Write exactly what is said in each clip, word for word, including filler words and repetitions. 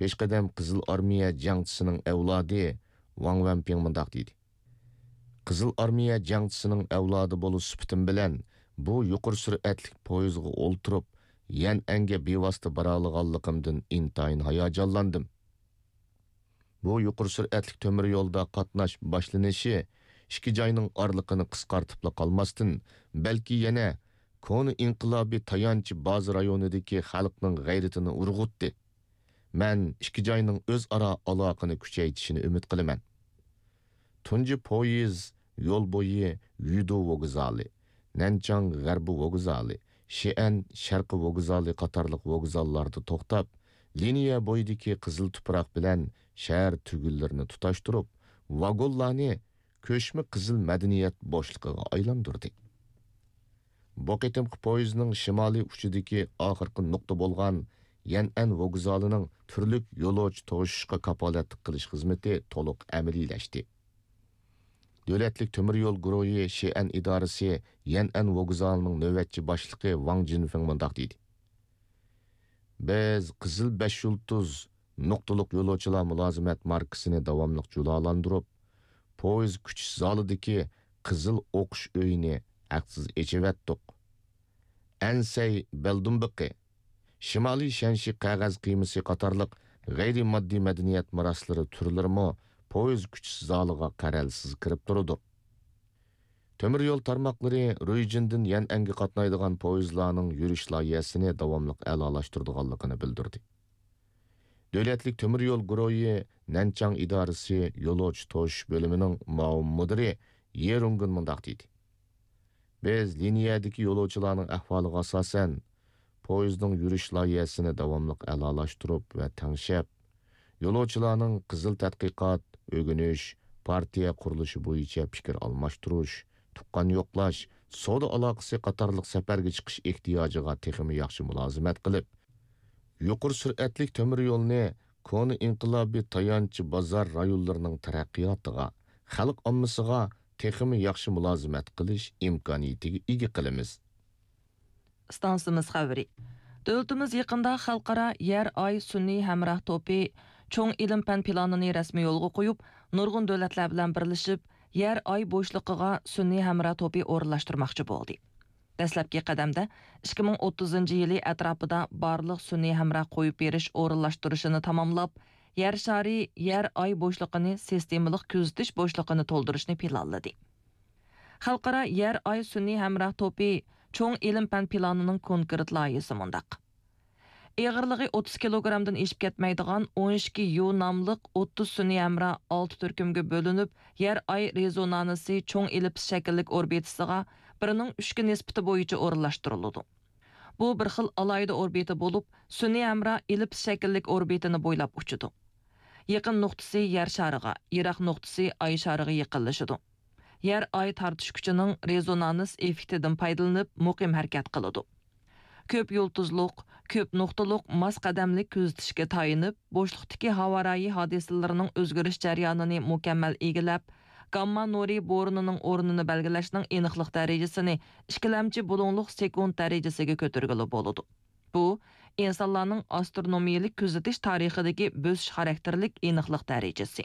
پېشقەدەم قىزىل ئارمىيە جەڭچىسىنىڭ ئەۋلادى ۋاڭ ۋەنپىڭ مۇنداق دېدى: قىزىل ئارمىيە جەڭچىسىنىڭ ئەۋلادى بولۇش سۈپىتىم بىلەن بۇ يۇقىرى سۈرئەتلىك پويىزغا ئولتۇرۇپ، يەنئەنگە بىۋاسىتە بارالىغانلىقىمدىن ئىنتايىن ھاياجانلاندىم. بۇ يۇقىرى سۈرئەتلىك تۆمۈر يولدا قاتناش باشلىنىشى ئىككى جاينىڭ ئارىلىقىنى قىسقارتىپلا قالماستىن، بەلكى يەنە كونا ئىنقىلابىي تايانچ بازا رايونىدىكى خەلقنىڭ غەيرىتىنى ئۇرغۇتتى. مەن ئىككى جاينىڭ ئۆزئارا ئالاقىنى كۈچەيتىشىنى ئۈمىد قىلىمەن. تۇنجى پويىز يول بويى يۈدۇ ۋوگزالى، نەنچاڭ غەربىي ۋوگزالى، شىئەن شەرقىي ۋوگزالى قاتارلىق ۋوگزاللاردا توختاپ، لىنىيە بويىدىكى قىزىل تۇپراق بىلەن شەھەر تۈگۈنلىرىنى تۇتاشتۇرۇپ، ۋاگونلارنى كۆچمە قىزىل مەدەنىيەت بوشلۇقىغا ئايلاندۇردى. بۇ قېتىمقى پويىزنىڭ شىمالىي ئۇچىدىكى ئاخىرقى نۇقتا بولغان يەنئەن ۋوگزالىنىڭ تۈرلۈك يولۇچى توشۇشقا كاپالەتلىك قىلىش خىزمىتى تولۇق ئەمەلىيلەشتى. دۆلەتلىك تۆمۈر يول گۇرۇھى شىئەن ئىدارىسى يەنئەن ۋوگزالىنىڭ نۆۋەتچى باشلىقى ۋاڭ جىنفېڭ مۇنداق دېدى: بىز قىزىل بەش يۇلتۇز نۇقتىلىق يولۇچىلار مۇلازىمەت ماركىسىنى داۋاملىق جۇلالاندۇرۇپ، پويىز كۈتۈش زالىدىكى قىزىل ئوقۇش ئۆيىنى ھەقسىز ئېچىۋەتتۇق. ئەنسەي بەلدۇمبىقى، شىمالىي شەنشى قەغەز قىيمىسى قاتارلىق غەيرىي ماددىي مەدەنىيەت مىراسلىرى تۈرلىرىمۇ پويىز كۈتۈش زالىغا قەرەلسىز كىرىپ تۇرىدۇ. تۆمۈر يول تارماقلىرى رۇيجىندىن يەنئەنگە قاتنايدىغان پويىزلارنىڭ يۈرۈش لايىھەسىنى داۋاملىق ئەلالاشتۇرىدىغانلىقىنى بىلدۈردى. دۆلەتلىك تۆمۈر يول گۇرۇھى نەنچاڭ ئىدارىسى يولۇچى توشۇش بۆلۈمىنىڭ مۇئاۋىن مۇدىرى يې رۇڭگېن مۇنداق دېدى: بىز لىنىيەدىكى يولۇچىلارنىڭ ئەھۋالىغا ئاساسەن، پويىزنىڭ يۈرۈش لايىھەسىنى داۋاملىق ئەلالاشتۇرۇپ ۋە تەڭشەپ، يولۇچىلارنىڭ قىزىل تەتقىقات، ئۆگىنىش، پارتىيە قۇرۇلۇشى بويىچە پىكىر ئالماشتۇرۇش، تۇغقان يوقلاش، سودا ئالاقىسى قاتارلىق سەپەرگە چىقىش ئېھتىياجىغا تېخىمۇ ياخشى مۇلازىمەت قىلىپ، يۇقىرى سۈرئەتلىك تۆمۈر يولنى كونا ئىنقىلابىي تايانچ بازار رايونلىرىنىڭ تەرەققىياتىغا، خەلق ئاممىسىغا تېخىمۇ ياخشى مۇلازىمەت قىلىش ئىمكانىيىتىگە ئىگە قىلىمىز. ئىستانسىمىز خەۋىرى. دۆلىتىمىز يېقىندا خەلقئارا يەر ئاي سۈنئىي ھەمراھ توپى چوڭ ئىلىم پەن پىلانىنى رەسمىي يولغا قويۇپ، نۇرغۇن دۆلەتلەر بىلەن بىرلىشىپ، يەر ئاي بوشلۇقىغا سۈنئىي ھەمراھ توپى ئورۇنلاشتۇرماقچى بولدى. دەسلەپكى قەدەمدە ئىككى مىڭ ئوتتۇزىنچى يىلى ئەتراپىدا بارلىق سۈنئىي ھەمراھ قويۇپ بېرىش ئورۇنلاشتۇرۇشىنى تاماملاپ، يەر شارى يەر ئاي بوشلۇقىنى سىستېمىلىق كۆزىتىش بوشلۇقىنى تولدۇرۇشنى پىلانلىدى. خەلقئارا يەر ئاي سۈنئىي ھەمراھ توپى چوڭ ئىلىم پەن پىلانىنىڭ كونكرېت لايىھىسى مۇنداق. ئېغىرلىقى ئوتتۇز كىلوگرامدىن ئېشىپ كەتمەيدىغان ئون ئىككى يۇ ناملىق ئوتتۇز سۈنئىي ھەمراھ ئالتە تۈركۈمگە بۆلۈنۈپ، يەر ئاي رېزونانسى چوڭ ئېللىپس شەكىللىك ئوربىتىسىغا بىرنىڭ ئۈچكە نىسبىتى بويىچە ئورۇنلاشتۇرۇلىدۇ. بۇ بىر خىل ئالاھىدە ئوربىتا بولۇپ، سۈنئىي ھەمراھ ئېللىپس شەكىللىك ئوربىتىنى بويلاپ ئۇچىدۇ. يېقىن نۇقتىسى يەر شارىغا، يىراق نۇقتىسى ئاي شارىغا يېقىنلىشىدۇ. يەر ئاي تارتىش كۈچىنىڭ رېزونانس ئېففېكتىدىن پايدىلىنىپ، مۇقىم ھەرىكەت قىلىدۇ. كۆپ يۇلتۇزلۇق، كۆپ نۇقتىلىق ماس قەدەملىك كۆزىتىشكە تايىنىپ، بوشلۇقتىكى ھاۋا رايى ھادىسىلىرىنىڭ ئۆزگىرىش جەريانىنى مۇكەممەل ئىگىلەپ، گامما نۇرى بورىنىنىڭ ئورنىنى بەلگىلەشنىڭ ئېنىقلىق دەرىجىسىنى ئىككىلەمچى بۇلۇڭلۇق سېكۇنت دەرىجىسىگە كۆتۈرگىلى بولىدۇ. بۇ، ئىنسانلارنىڭ ئاسترونومىيەلىك كۆزىتىش تارىخىدىكى بۆسۈش خاراكتېرلىك ئېنىقلىق دەرىجىسى.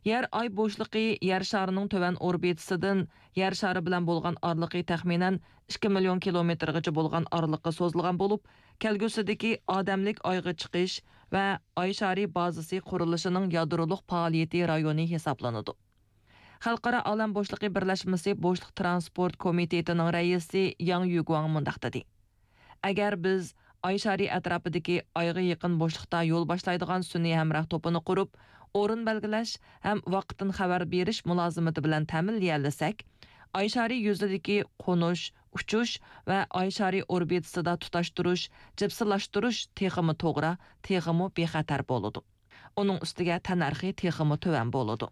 يەر ئاي بوشلۇقى يەر شارىنىڭ تۆۋەن ئوربىتىسىدىن يەر شارى بىلەن بولغان ئارىلىقى تەخمىنەن ئىككى مىليون كىلومېتىرغىچە بولغان ئارىلىققا سوزۇلغان بولۇپ، كەلگۈسىدىكى ئادەملىك ئايغا چىقىش ۋە ئاي شارى بازىسى قۇرۇلۇشىنىڭ يادرولۇق پائالىيىتى رايونى ھېسابلىنىدۇ. خەلقئارا ئالەم بوشلۇقى بىرلەشمىسى بوشلۇق تىرانسپورت كومىتېتىنىڭ رەئىسى ياڭ يۈگۇاڭ مۇنداق دېدى: ئەگەر بىز ئاي شارى ئەتراپىدىكى ئايغا يېقىن بوشلۇقتا يول باشلايدىغان سۈنئىي ھەمراھ توپىنى قۇرۇپ، ئورۇن بەلگىلەش ھەم ۋاقىتتىن خەۋەر بېرىش مۇلازىمىتى بىلەن تەمىنلىيەلىسەك، ئاي شارى يۈزىدىكى قونۇش، ئۇچۇش ۋە ئاي شارى ئوربىتىسىدا تۇتاشتۇرۇش، جىپسىلاشتۇرۇش تېخىمۇ توغرا، تېخىمۇ بىخەتەر بولىدۇ. ئۇنىڭ ئۈستىگە تەننەرخى تېخىمۇ تۆۋەن بولىدۇ.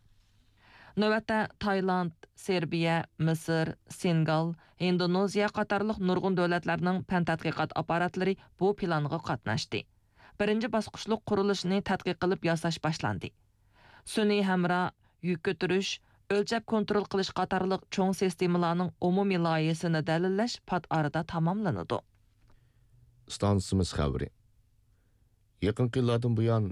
نۆۋەتتە تايلاند، سېربىيە، مىسىر، سېنېگال، ھىندونېزىيە قاتارلىق نۇرغۇن دۆلەتلەرنىڭ پەن تەتقىقات ئاپپاراتلىرى بۇ پىلانغا قاتناشتى. بىرىنچى باسقۇچلۇق قۇرۇلۇشنى تەتقىق قىلىپ ياساش باشلاندى. سۈنئىي ھەمراھ، يۈك كۆتۈرۈش، ئۆلچەپ كونترول قىلىش قاتارلىق چوڭ سىستېمىلارنىڭ ئومۇمىي لايىھىسىنى دەلىللەش پات ئارىدا تاماملىنىدۇ. ئىستانسىمىز خەۋىرى. يېقىنقى يىللاردىن بۇيان